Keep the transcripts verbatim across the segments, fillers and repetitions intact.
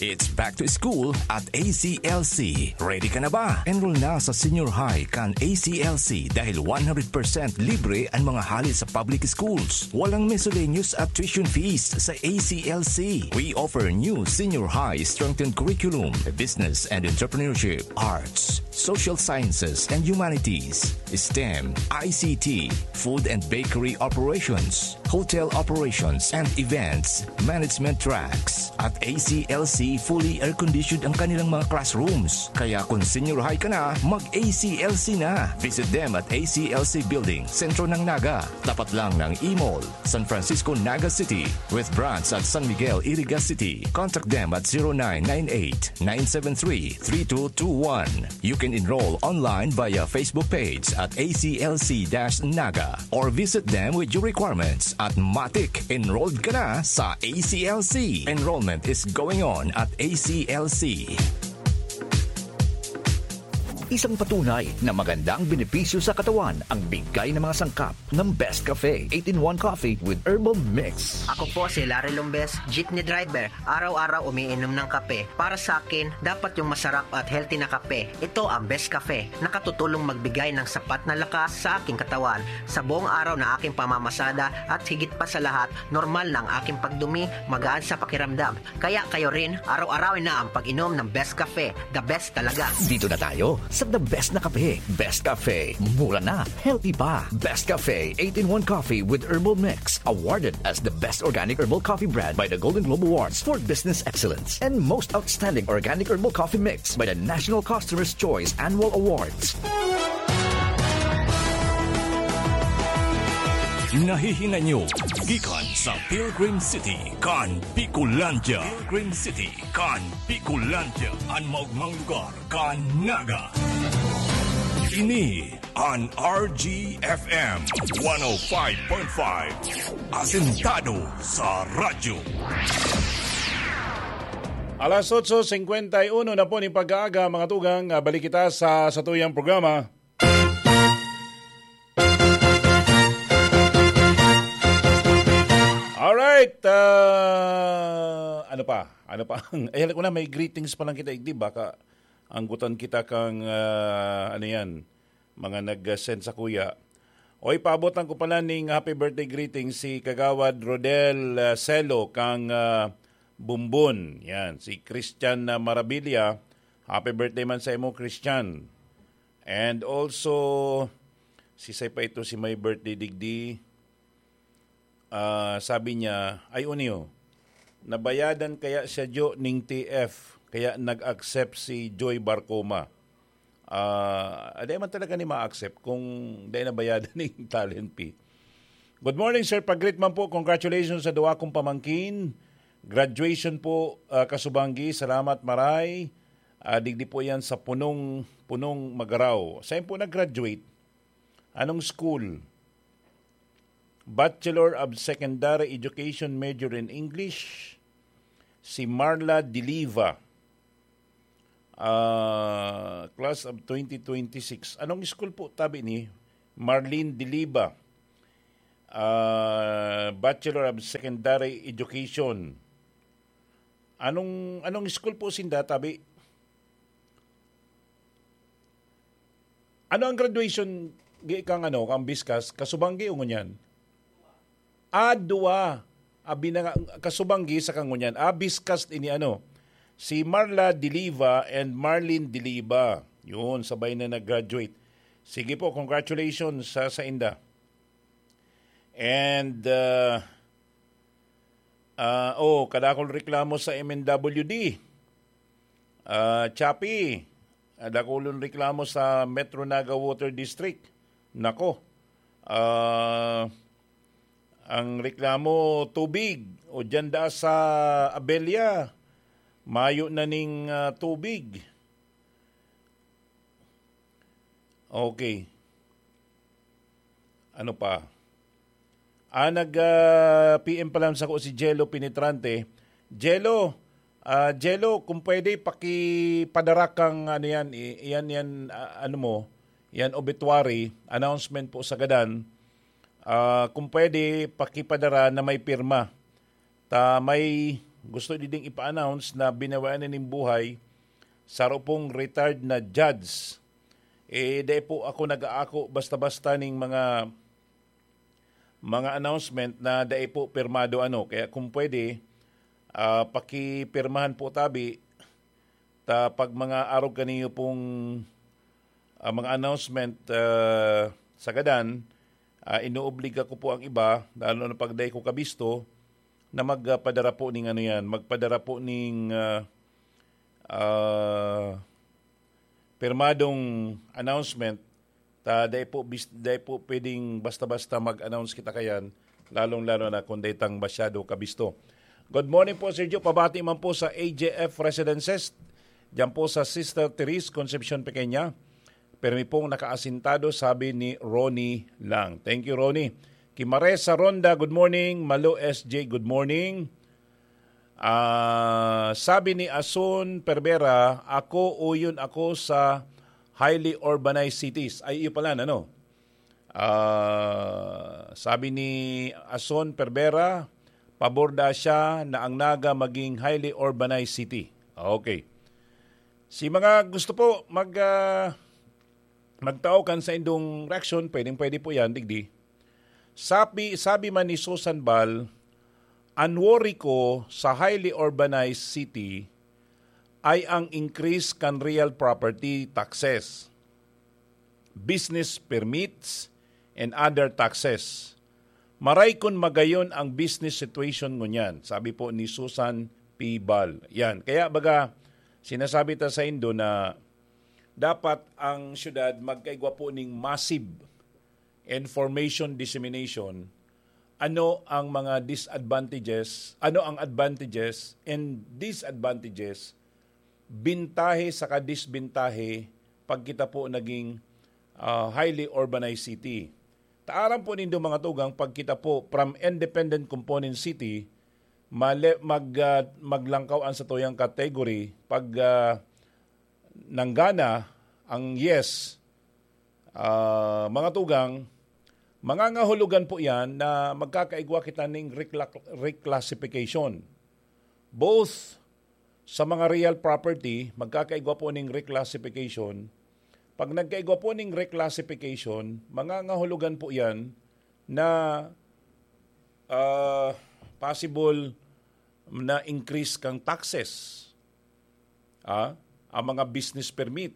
It's back to school at A C L C. Ready ka na ba? Enroll na sa senior high kan A C L C dahil one hundred percent libre ang mga hali sa public schools. Walang miscellaneous at tuition fees sa A C L C. We offer new senior high strengthened curriculum, business and entrepreneurship, arts, social sciences and humanities, STEM, I C T, food and bakery operations, hotel operations and events management tracks. At A C L C, fully air-conditioned ang kanilang mga classrooms. Kaya kung senior high ka na, mag-A C L C na. Visit them at A C L C Building, sentro ng Naga. Tapat lang ng E-Mall, San Francisco, Naga City, with branch at San Miguel, Iriga City. Contact them at zero nine nine eight, nine seven three, three two two one. You can enroll online via Facebook page at A C L C dash Naga or visit them with your requirements at Matik. Enrolled ka na sa A C L C. Enrollment is going on at A C L C. Isang patunay na magandang benepisyo sa katawan ang bigay ng mga sangkap ng Best Cafe eight-in-one Coffee with Herbal Mix. Ako po si Larry Lombes, jeepney driver. Araw-araw umiinom ng kape. Para sa akin, dapat yung masarap at healthy na kape. Ito ang Best Cafe. Nakatutulong magbigay ng sapat na lakas sa aking katawan. Sa buong araw na aking pamamasada at higit pa sa lahat, normal na ang aking pagdumi, magaan sa pakiramdam. Kaya kayo rin, araw-arawin na ang pag-inom ng Best Cafe. The best talaga. Dito na tayo sa the best na kape. Best Cafe. Mura na. Healthy pa. Best Cafe eight-in-one Coffee with Herbal Mix. Awarded as the best organic herbal coffee brand by the Golden Globe Awards for Business Excellence and most outstanding organic herbal coffee mix by the National Customer's Choice Annual Awards. Nahihinay nyo gikan sa Pilgrim City kan Bicolandia. Pilgrim City kan Bicolandia, an maogmang lugar kan Naga. Ini an R G F M one oh five point five, asentado sa radyo. Alas otso singkwenta y uno na po nin pag-aaga, mga tugang, ah, balik kita sa satuyang programa. Alright, ah, ano pa? Ano pa? Ay, alam ko na, may greetings pa lang kita, igdi. Baka anggutan kita kang, ah, ano yan, mga nag-send sa kuya. Oy, paabotan ko pala ning happy birthday greeting si Kagawad Rodel, ah, Celo kang, ah, Bumbon. Yan, si Christian, ah, Marabilia. Happy birthday man sa imo, Christian. And also, si say pa ito si may birthday digdi. Ah, sabi niya, ay, uniyo, nabayadan kaya siya, Jo, ning T F, kaya nag-accept si Joy Barcoma. Ah, dai man talaga ni ma-accept kung dai nabayadan ning talent fee. Good morning, sir. Pag-greet man po, congratulations sa duwa kong pamangkin. Graduation po, ah, Kasubanggi. Salamat, maray. Ah, digdi po yan sa Punong, Punong Magarao. Saan po nag-graduate? Anong school? Bachelor of Secondary Education, major in English. Si Marla Diliva. Ah, class of twenty twenty-six. Anong school po tabi ni Marlene Diliva? Ah, Bachelor of Secondary Education. Anong, anong school po sinda tabi? Ano ang graduation gi-, kang ano, kang Biskas? Kasubanggi o ngunyan? Ah, duwa. Abi na nga, Kasubanggi sa kangunyan. Ah, Biskas ini ano, si Marla Diliva and Marlene Diliva. Yun, sabay na nag-graduate. Sige po, congratulations sa, sa inda. And, uh, uh, oh, kadakol reklamo sa M N W D. Ah, Chappie, ah, dakulon reklamo sa Metro Naga Water District. Nako, ah, ang reklamo, tubig. O dyan da sa Abella, mayo na ning, ah, tubig. Okay. Ano pa? Ah, nag, ah, P M pa lang sako si Jello Penetrante. Jello, ah, Jello, kung pwede, pakipadara kang ano yan, i-, yan, yan, ah, ano mo, yan obituary, announcement po sa gadan. Ah, kung pwede, pakipadara na may pirma. Ta may, gusto diding ipa-announce na binawian na nin buhay sa rupong retired na judge. Eh, dai po ako nag-aako basta-basta ning mga, mga announcement na dai po pirmado ano. Kaya kung pwede, ah, pakipirmahan po tabi, ta pag mga arog kaniyo pong, ah, mga announcement, ah, sa gadan, ah, inoobliga ko po ang iba, lalo na pag dai ko kabisto, na magpadara po ning ano yan, magpadara po ning, ah, ah, pirmadong announcement, ta dai po bis-, dai po pwedeng basta-basta mag-announce kita kayan, lalong-lalo na kung dai tang masyado kabisto. Good morning po, Sir Joe. Pabati man po sa A J F Residences, diyan po sa Sister Therese Concepcion Pequeña. Permi pong nakaasintado, sabi ni Ronnie Lang. Thank you, Ronnie. Kimares sa Ronda, good morning. Malo S J, good morning. Ah, sabi ni Ason Perbera, "Ako, uyon ako sa highly urbanized cities." Ay, iyo pala, ano? Ah, sabi ni Ason Perbera, pabor da siya na ang Naga maging highly urbanized city. Okay. Si mga gusto po mag, ah, magtao kan sa indong reaksyon, pwedeng-pwede po yan, digdi. Sabi, sabi man ni Susan Bal, "Ang worry ko sa highly urbanized city ay ang increase kan real property taxes, business permits, and other taxes. Maray kun magayon ang business situation ngunyan," sabi po ni Susan P. Bal. Yan. Kaya baga, sinasabi ta sa Indo na dapat ang syudad magkaigwa po ning massive information dissemination. Ano ang mga disadvantages, ano ang advantages and disadvantages, bintahe saka disbintahe pag kita po naging, ah, highly urbanized city. Ta aram po nindo, mga tugang, pag kita po from independent component city, male-, mag, ah, maglangkaw an satuyang category pag, ah, nanggana ang yes, ah, mga tugang, mangangahulugan po yan na magkakaigwa kita ning recla-, reclassification. Both sa mga real property, magkakaigwa po ning reclassification. Pag nagkaigwa po ning reclassification, mangangahulugan po yan na, ah, possible na increase kang taxes. Ah, ang mga business permit,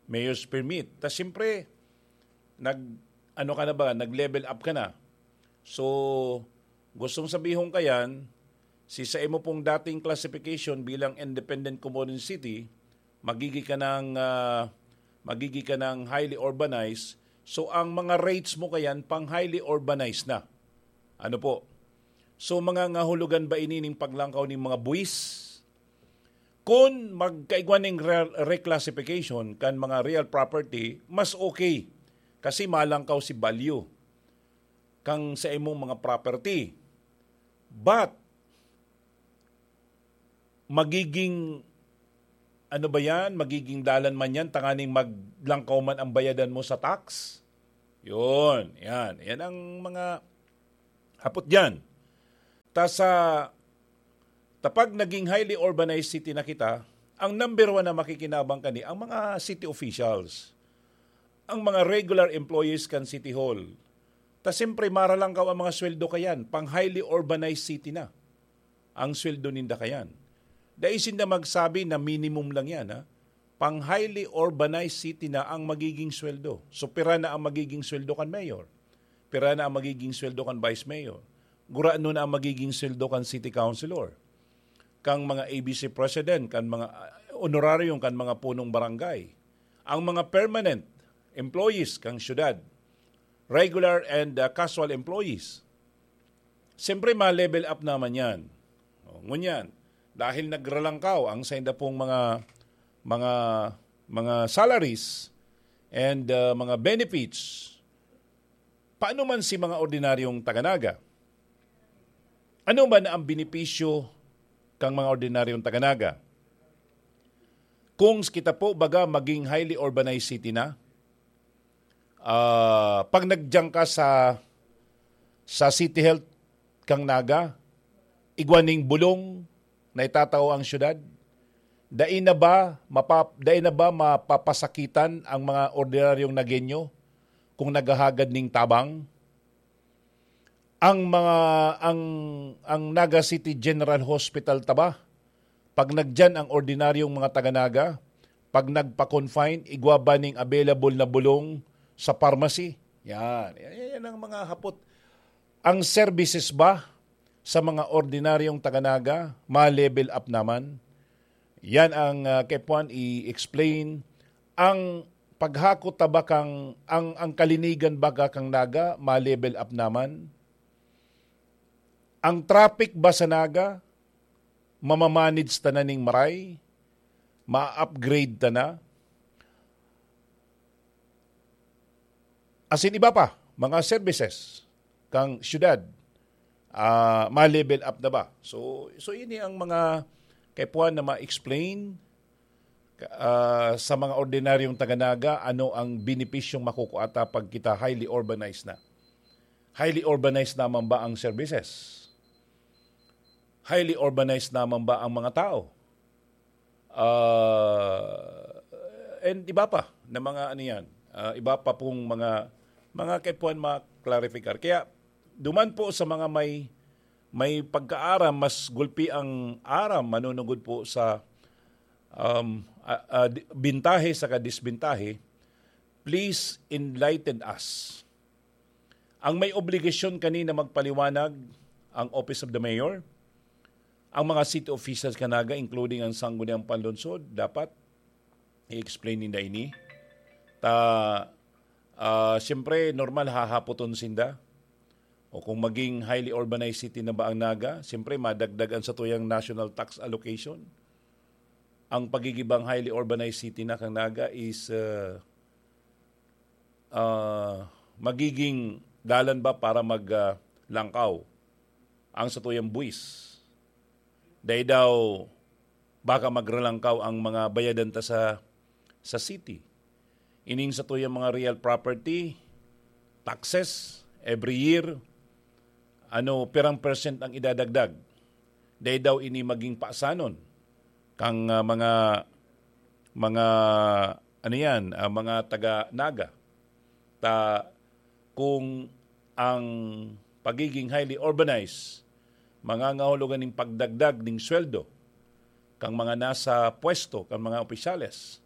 mayor's permit. Ta siyempre, nag, ano ka na ba, nag-level up ka na. So, gustong sabihon ka yan, si sa imo pong dating classification bilang independent community city, magigi ka ng, ah, magigi ka ng highly urbanized. So, ang mga rates mo kayan, pang highly urbanized na. Ano po? So, mga ngahulugan ba ini ning paglangkaw ning mga buwis? Kun magkaigwa ning re-, reclassification kan mga real property, mas okay. Kasi malangkaw si value kang sa imong mga property. But, magiging, ano ba yan? Magiging dalan man yan, tanganing maglangkaw man ang bayadan mo sa tax? Yun, yan. Yan ang mga hapot dyan. Ta sa, tapag naging highly urbanized city na kita, ang number one na makikinabang kani, ang mga city officials, ang mga regular employees kan City Hall. Ta siyempre, maralangkaw ang mga sweldo kayan, pang highly urbanized city na ang sweldo ninda kayan. Dai sinda magsabi na minimum lang yan, ha? Pang highly urbanized city na ang magiging sweldo. So, pira na ang magiging sweldo kan mayor? Pira na ang magiging sweldo kan vice mayor? Gurano na ang magiging sweldo kan city councilor, kang mga A B C president, kan mga, ah, honorarium kan mga punong barangay? Ang mga permanent employees kang syudad, regular and, ah, casual employees. Siyempre, ma-level up naman yan. O, ngunyan, dahil nagralangkaw ang sainda pong mga, mga, mga salaries and, ah, mga benefits, paano man si mga ordinaryong taga-Naga? Ano man ang benepisyo kang mga ordinaryong taga-Naga? Kung kita po, baga, maging highly urbanized city na, ah, pag nagyan ka sa, sa City Health kang Naga, igwa ning bulong, na itatao ang syudad? Dai na ba mapa-, dai na ba mapapasakitan ang mga ordinaryong Nagueño kung naghahagad ning tabang? Ang mga, ang, ang Naga City General Hospital ta ba? Pag nagdiyan ang ordinaryong mga taga-Naga, pag nagpa-confine, igwa ba ning available na bulong sa pharmacy? Yan. Yan, yan, yan ang mga hapot. Ang services ba sa mga ordinaryong taga-Naga, ma-level up naman? Yan ang, ah, kaipuhan i-explain. Ang paghakot ta ba kang, ang, ang kalinigan baga kang Naga, ma-level up naman? Ang traffic ba sa Naga, mamamanage ta na ning maray? Ma-upgrade ta na? Asin iba pa, mga services kang syudad, ah, ma-level up na ba? So, so ini ang mga kaipuhan na ma-explain, ah, sa mga ordinaryong taga-Naga, ano ang benepisyong makukuha ta pag kita highly urbanized na? Highly urbanized naman ba ang services? Highly urbanized naman ba ang mga tao? Ah, and iba pa na mga ano yan, ah, iba pa pong mga, mga kaipuhan ma-clarificar. Kaya duman po sa mga may, may pagkaaram, mas gulpi ang aram, manunugod po sa, um, ah, ah, di-, bintahe saka disbintahe, please enlighten us. Ang may obligasyon kanina magpaliwanag ang Office of the Mayor, ang mga city officials kan Naga, including ang Sangguniang Panlungsod, dapat i-explain ninda ini. Ta, ah, siyempre, normal, hahapoton sinda. O kung maging highly urbanized city na ba ang Naga, siyempre, madagdag ang satuyang national tax allocation. Ang pagigibang highly urbanized city na kang Naga is, ah, ah, magiging dalan ba para mag, ah, langkaw ang satuyang buwis? Dai daw baka magralangkaw ang mga bayadan ta sa, sa city. Ining satuyang mga real property, taxes, every year, ano, pirang percent ang idadagdag? Dai daw ini maging pasanon kang, ah, mga, mga, ano yan, ah, mga taga Naga. Ta, kung ang pagiging highly urbanized mangangahulugan ning pagdagdag ning sweldo kang mga nasa pwesto, kang mga opisyales,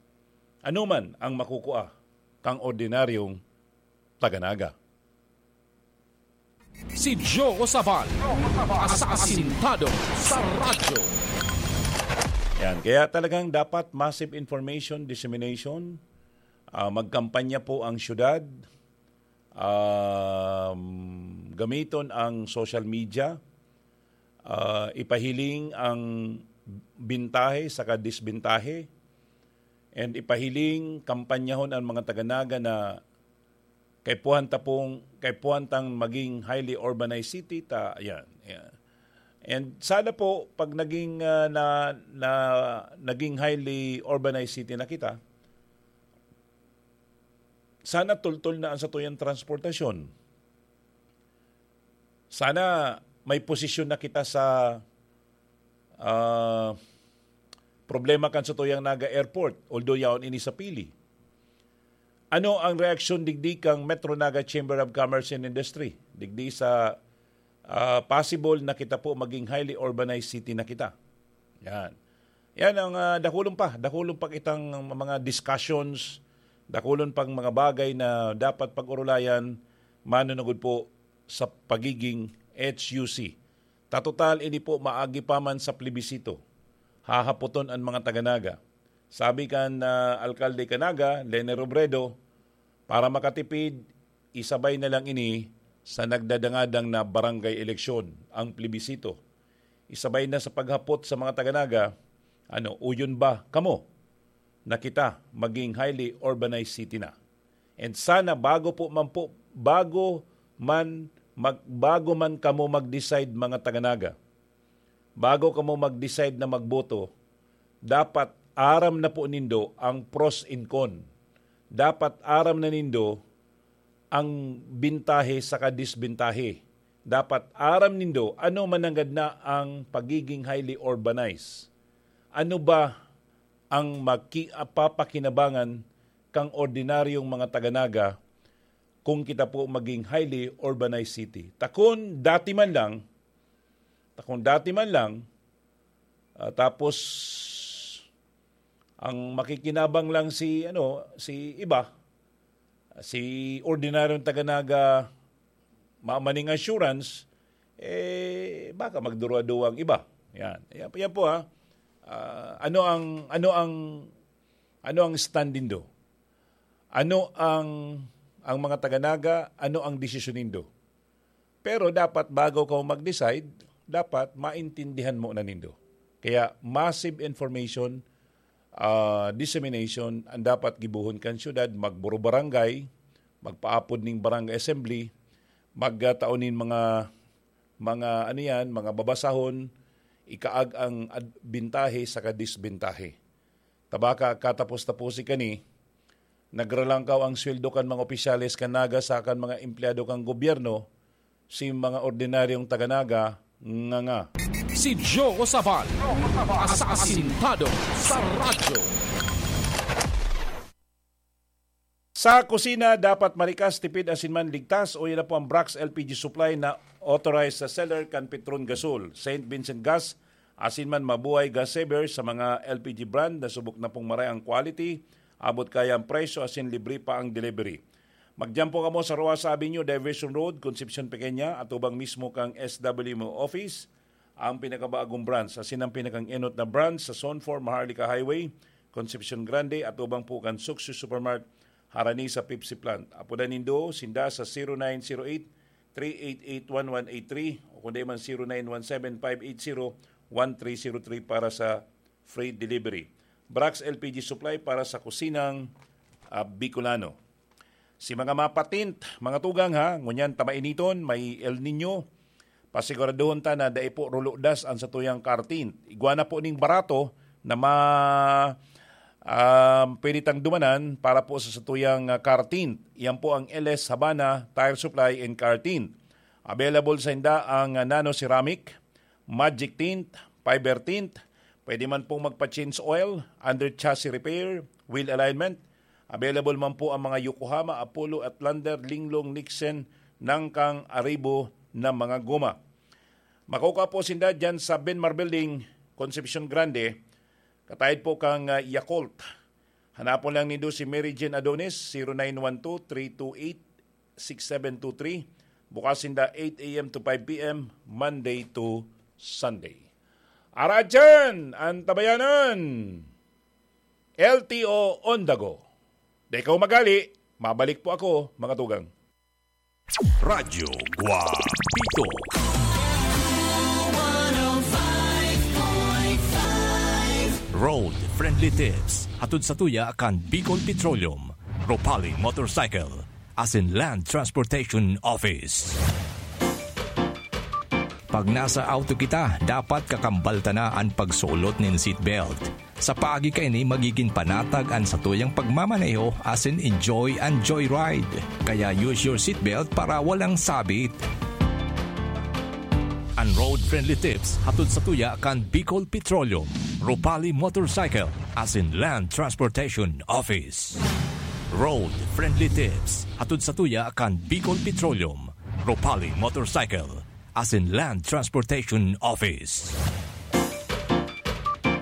ano man ang makukua kang ordinaryong taga Naga? Si Joe Sabal, asasintado sa radyo. Yan, kaya talagang dapat massive information dissemination. Ah, magkampanya po ang syudad, um, gamiton ang social media, ah, ipahiling ang bintahe saka disbintahe, and ipahiling, kampanyahon ang mga taga Naga na kaipuhan ta pong, kaipuhan tang maging highly urbanized city ta, yan, yan. And sana po, pag naging, ah, na, na, naging highly urbanized city na kita, sana tultol na ang satuyang transportasyon. Sana may posisyon na kita sa, ah, problema kan satuyang Naga Airport, although yaon ini sa Pili. Ano ang reaksyon digdi kang Metro Naga Chamber of Commerce and Industry digdi sa, ah, possible na kita po maging highly urbanized city na kita? Yan. Yan ang, ah, dakulon pa, dakulon pa kitang mga discussions, dakulon pang mga bagay na dapat pag-urulayan, manunugod po sa pagiging H U C. Ta total, ini po maagi pa man sa plebisito. Hahapoton an mga taga Naga. Sabi kan, ah, alkalde kan Naga, Leni Robredo, para makatipid, isabay na lang ini sa nagdadangadang na barangay eleksyon, ang plebisito. Isabay na sa paghapot sa mga taga Naga, ano, uyon ba kamo na kita maging highly urbanized city na? And sana bago po man po, bago man mag-, bago man kamo mag-decide, mga taga Naga, bago kamo mag-decide na magboto, dapat aram na po nindo ang pros and con. Dapat aram na nindo ang bintahe saka disbintahe Dapat aram nindo ano mananggad na ang pagiging highly urbanized. Ano ba ang maki-, papakinabangan kang ordinaryong mga taga-Naga kung kita po maging highly urbanized city? Takon dati man lang, takon dati man lang, ah, tapos ang makikinabang lang si, ano, si iba, si ordinaryong taga-Naga, mamaning assurance, eh, baka magduruwa-duwa ang iba. Yan. Yan, yan po, ha. Ah, ano ang, ano ang, ano ang stand nindo? Ano ang, ang mga taga-Naga, ano ang desisyon nindo? Pero dapat bago ka mag-decide, dapat maintindihan mo na nindo. Kaya massive information, ah, dissemination ang dapat gibohon kan syudad, magburo barangay, magpaapod ning barangay assembly, magtao nin mga, mga ano yan, mga babasahon, ikaag ang ad-, bintahe saka disbintahe. Tabaka katapos-taposi kani, nagralangkaw ang sweldo kan mga opisyales kan Naga sa kan mga empleyado kan gobyerno, si mga ordinaryong taga-Naga, nganga. Si Joe Sabal, asasintado sa radyo. Sa kusina, dapat marikas, tipid, asin man ligtas, o yan na po ang Brax L P G Supply na authorized sa seller kan Petron Gasol, Saint Vincent Gas, asin man Mabuhay Gas Saver sa mga L P G brand na subok na pong maray ang quality, abot kaya ang presyo, asin libre pa ang delivery. Magdiyan po kamo sa Roasa Avenue, Diversion Road, Concepcion Pequeña, atubang mismo kang S W M O office, ang pinakabagong branch, asin ang pinakang-enot na branch sa Zone four Maharlika Highway, Concepcion Grande, atubang po kan Suksy Supermart, harani sa Pepsi Plant. Apodan nindo sinda sa zero nine zero eight, three eight eight, one one eight three o kundi man zero nine one seven, five eight zero, one three zero three para sa free delivery. Brax L P G Supply para sa kusinang, ah, Bicolano. Si mga mapatint, mga tugang ha, ngunyan ta mainiton, may El Niño, pasiguraduhon ta na dai po ruludas an satuyang car tint. Igwa na po ning barato na ma-, ah, pwede tang dumanan para po sa satuyang, ah, car tint. Iyan po ang L S Habana Tire Supply and Car Tint. Available sa inda ang, ah, nano ceramic, Magic Tint, Fiber Tint. Pwede man pong magpa-change oil, under chassis repair, wheel alignment. Available man po ang mga Yokohama, Apollo, Outlander, Linglong, Nixon, Nangkang, Arribo na mga goma. Makukua po sinda dyan sa Benmar Building, Concepcion Grande, katayod po kang, ah, Yakult. Hanapon lang nindo si Mary Jane Adonis, zero nine one two, three two eight, six seven two three. Bukas sinda eight a m to five p m, Monday to Sunday. Aradyan an tabayanan, L T O on the go. Di kaw magali, mabalik po ako, mga tugang. Radyo Guapito. Road Friendly Tips, hatod sa tuya kan Bicol Petroleum, Ropali Motorcycle, asin Land Transportation Office. Pag nasa auto kita, dapat kakambal ta na an pagsulot nin seatbelt. Sa paagi kaini, magigin panatag an satuyang pagmamaneho asin enjoy an joyride. Kaya use your seatbelt para walang sabit. An road-friendly tips hatod sa tuya kan Bicol Petroleum, Ropali Motorcycle, asin Land Transportation Office. Road-friendly tips hatod sa tuya kan Bicol Petroleum, Ropali Motorcycle, asin Land Transportation Office.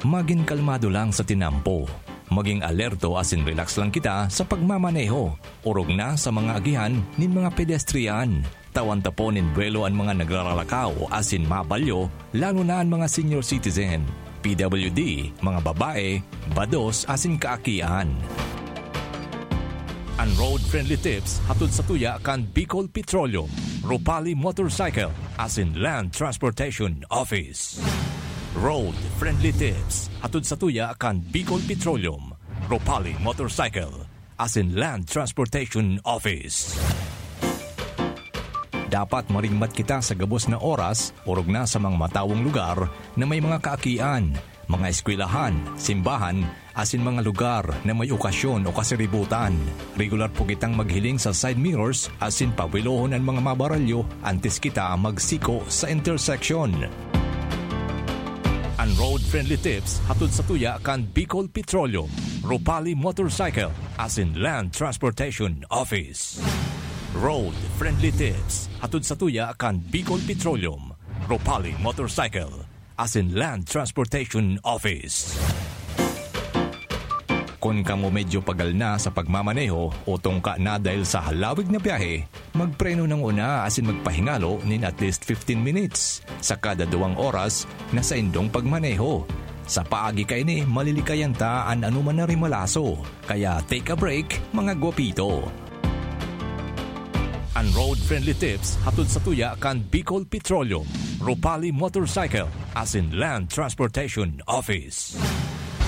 Magin kalmado lang sa tinampo. Maging alerto asin relax lang kita sa pagmamaneho, orog na sa mga agihan nin mga pedestrian. Tawan ta po nin buwelo an mga nagraralakaw asin mabalyo, lalo na an mga senior citizen, P W D, mga babae, bados asin kaakian. An road-friendly tips hatod sa tuya kan Bicol Petroleum, Ropali Motorcycle, asin Land Transportation Office. Road-friendly tips hatod sa tuya kan Bicol Petroleum, Ropali Motorcycle, asin Land Transportation Office. Dapat maringmat kita sa gabos na oras, orog na sa mga matawong lugar na may mga kaakian, mga eskwelahan, simbahan, asin mga lugar na may okasyon o kasiributan. Regular po kitang maghiling sa side mirrors asin pawilohon an mga mabaralyo antes kita magsiko sa intersection. An Road Friendly Tips hatod sa tuya kan Bicol Petroleum, Ropali Motorcycle, asin Land Transportation Office. Road Friendly Tips hatod sa tuya kan Bicol Petroleum, Ropali Motorcycle, asin Land Transportation Office. Kun kamo medyo pagal na sa pagmamaneho o tungka na dahil sa halawig na biyahe, magpreno nang una asin magpahingalo nin at least fifteen minutes sa kada duwang oras na saindong pagmaneho. Sa paagi kaini, malilikayan ta an anoman na rimalaso. Kaya take a break, mga gwapito. An Road Friendly Tips hatod sa tuya kan Bicol Petroleum, Ropali Motorcycle, asin Land Transportation Office.